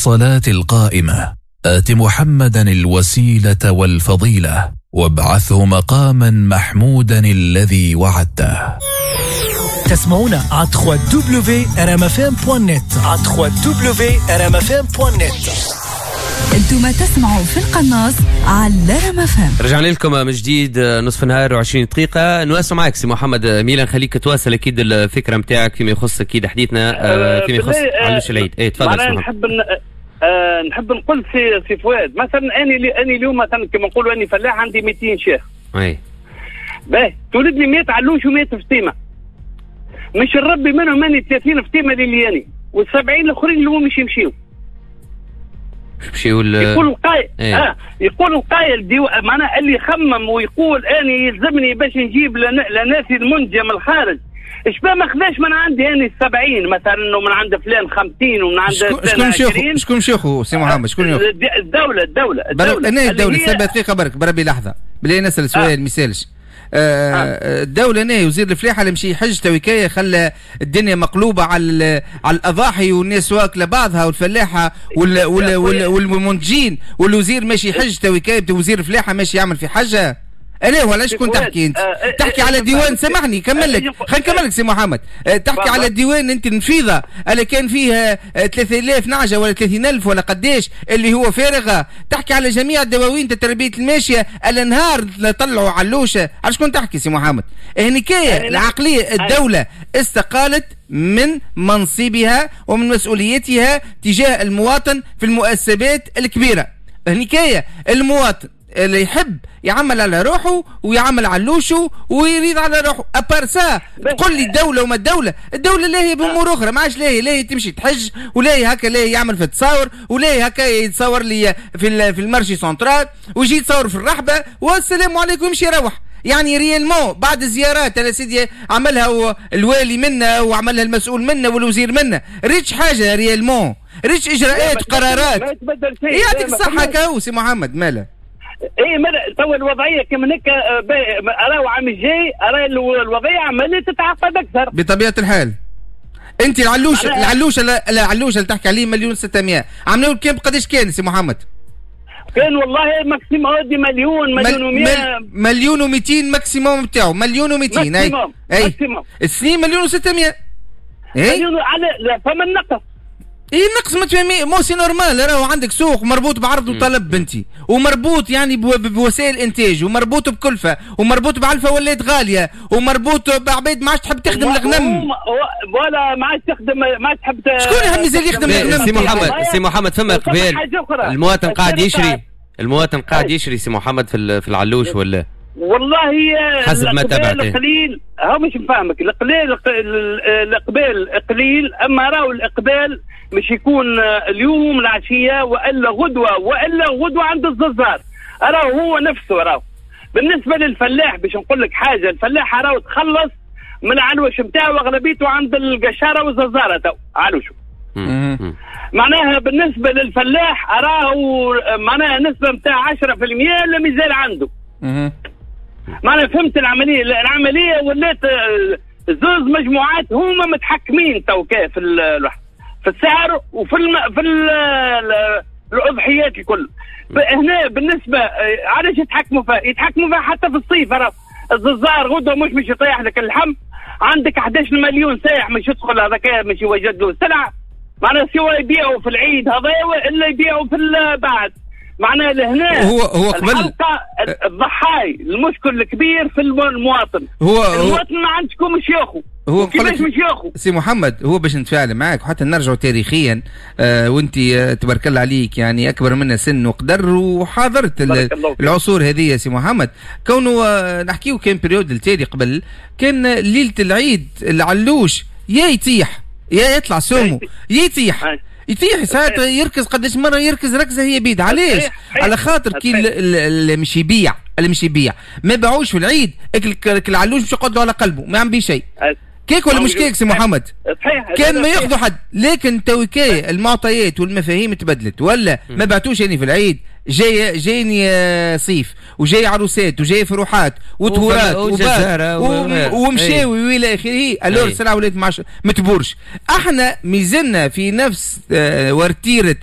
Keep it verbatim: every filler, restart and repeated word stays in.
الصلاة القائمة، آت محمدا الوسيلة والفضيلة، وابعثه مقاما محمودا الذي وعدته. تسمعونا على دبليو دبليو دبليو دوت آر إم إف إم دوت نت، على دبليو دبليو دبليو دوت آر إم إف إم دوت نت. انتم تسمعوا في القناص على رام اف ام. رجعنا لكم من جديد، نصف نهار وعشرين دقيقة. نواصل معك سي محمد ميلان، خليك تواصل اكيد الفكرة نتاعك فيما يخص اكيد حديثنا آه، فيما يخص علوش العيد. اي تفضل. معناها نحب آه نحب نقول سي سي فؤاد، مثلا اني اني اليوم مثلا كما نقولوا اني فلاح عندي ميتين شاة. اي باهي، تولد لي مية علوش ومية فطيمه، مش نربي منهم اني ثلاثين فطيمه للياني والسبعين الاخرين اللي هو مش يمشيو. يمشيو. يقول القايل ايه؟ آه يقول القايل ديو، معناها اللي يخمم ويقول اني يلزمني باش نجيب لناسي المنتجة من الخارج، ايش ما خذاش من عندي اني السبعين مثلا، ومن عند فلان خمسين ومن عند فلان عشرين. شكون مشيخو سي محمد؟ شكون ياخذ؟ الدولة الدولة الدولة. أنا الدولة سبع دقيقة برك، بربي لحظة بلي نسأل سؤال. آه. ما يسالش آه آه. الدولة ناي وزير الفلاحة اللي مشي حج تويكاية خلى الدنيا مقلوبة على على الأضاحي والناس واكلة بعضها والفلاحة وال وال وال والمنتجين، والوزير ماشي حج تويكاية، وزير الفلاحة ماشي يعمل في حاجة. انا ولا شكون تحكي انت؟ آه تحكي على ديوان، سامحني كمل لك، خلينا نكمل لك سي محمد. آه تحكي على الديوان انت، النفيضه اللي كان فيها ثلاثة آلاف نعجة ولا ثلاثين ألف ولا قداش اللي هو فارغه. تحكي على جميع الدواوين تربيه الماشية اللي نهار طلعوا علوشه. على شكون تحكي سي محمد؟ هنيكاية العقليه، الدولة استقالت من منصبها ومن مسؤوليتها تجاه المواطن في المؤسسات الكبيره. هنيكاية المواطن اللي يحب يعمل على روحه ويعمل علوشه ويريد على روحه. à part ça تقول لي الدولة وما الدوله، الدولة لا هي بامور اخرى، ما عادش لا هي لا هي تمشي تحج ولا هي هكا، لا هي يعمل في التصاور ولا هي هكا يتصور لي في في ال marché central ويجي يتصور في الرحبه والسلام عليكم يمشي يروح. يعني réellement بعد الزيارات انا سيدي عملها الوالي منا وعملها المسؤول منا والوزير منا، ريتش حاجة réellement؟ ريتش اجراءات قرارات؟ يعطيك الصحة كاو سي محمد مالا. اي مالا تو الوضعية كما هكا، راهو عام الجاي راه الوضعية عماله تتعقد اكثر. بطبيعة الحال انت العلوش العلوش العلوش اللي تحكي عليه مليون ستمية، عملوا كام؟ قداش كان سي محمد؟ كان والله maximum مليون، مليون ومية. مليون ومئتين maximum بتاعه، مليون ومئتين. اي اي السنين مليون وستمية. اي مليون على لا فما النقص. اي النقص ما تفهمي مو c'est normal، راهو عندك سوق مربوط بعرض وطلب بنتي، ومربوط يعني بوسائل انتاج، ومربوط بكلفه، ومربوط بعلفه ولات غاليه، ومربوط بعباد ما عادش تحب تخدم الغنم. ولا ما عادش تخدم، ما عادش تحب. شكون يحب مازال يخدم الغنم؟ سي محمد، سي محمد، فما اقبال؟ المواطن قاعد يشري؟ المواطن قاعد يشري سي محمد في في العلوش ولا؟ والله حسب ما تابعت قليل، هو مش نفهمك، القليل الاقبال قليل، اما راهو الاقبال مش يكون اليوم العشية والا غدوه والا غدوه عند الززار، راهو هو نفسه. راهو بالنسبة للفلاح باش نقول لك حاجه، الفلاح راهو تخلص من العلوش نتاعو، اغلبيته عند القشاره والززاره تو علوشه. معناها بالنسبة للفلاح راهو معناها نسبه نتاع عشرة في المية اللي مازال عنده. معناها فهمت العمليه؟ العملية ولات زوز مجموعات هما متحكمين تو في في السعر وفي الم... في ال... الاضحيات الكل. هنا بالنسبة علاش يتحكموا فيها؟ يتحكموا فيها حتى في الصيف. الززار غدوه مش مش يطيح لك اللحم، عندك حداش مليون سايح مش يدخل، هذاك مش يوجد له سلعه. معناها سواء يبيعوا في العيد هذا الا يبيعوا في بعد. معناها لهنا هو هو قبل الحلقة الضحاي المشكل الكبير في المواطن. هو المواطن ما عندكم مش ياخذ. هو كيفاش مش ياخذ؟ سي محمد، هو باش نتفاعل معك وحتى نرجعوا تاريخيا، آه وانت آه تبارك الله عليك، يعني اكبر منا سن وقدر وحاضرت العصور هذه سي محمد، كونه آه نحكيو كان période التالي قبل، كان ليلة العيد العلوش يا يطيح يا يطلع سومو، يا يطيح يطيح ساعات يركز، قداش مرة يركز ركزه هي بيد. علاش؟ على خاطر كي اللي مش يبيع اللي مش يبيع ما باعوش في العيد، العلوش مش يقعد على قلبه ما عم بيه شيء. كيك ولا مش كيك سي محمد؟ صحيح. كان ما ياخذوا حد، لكن تويكاي المعطيات والمفاهيم تبدلت ولا ما بعتوش يعني في العيد، جاي جايني آه، صيف وجاي عروسات وجاي فروحات وطهورات ومشاوي والى اخره، alors السلعة ولات ما تبورش. احنا ميزلنا في نفس آه، ورتيره.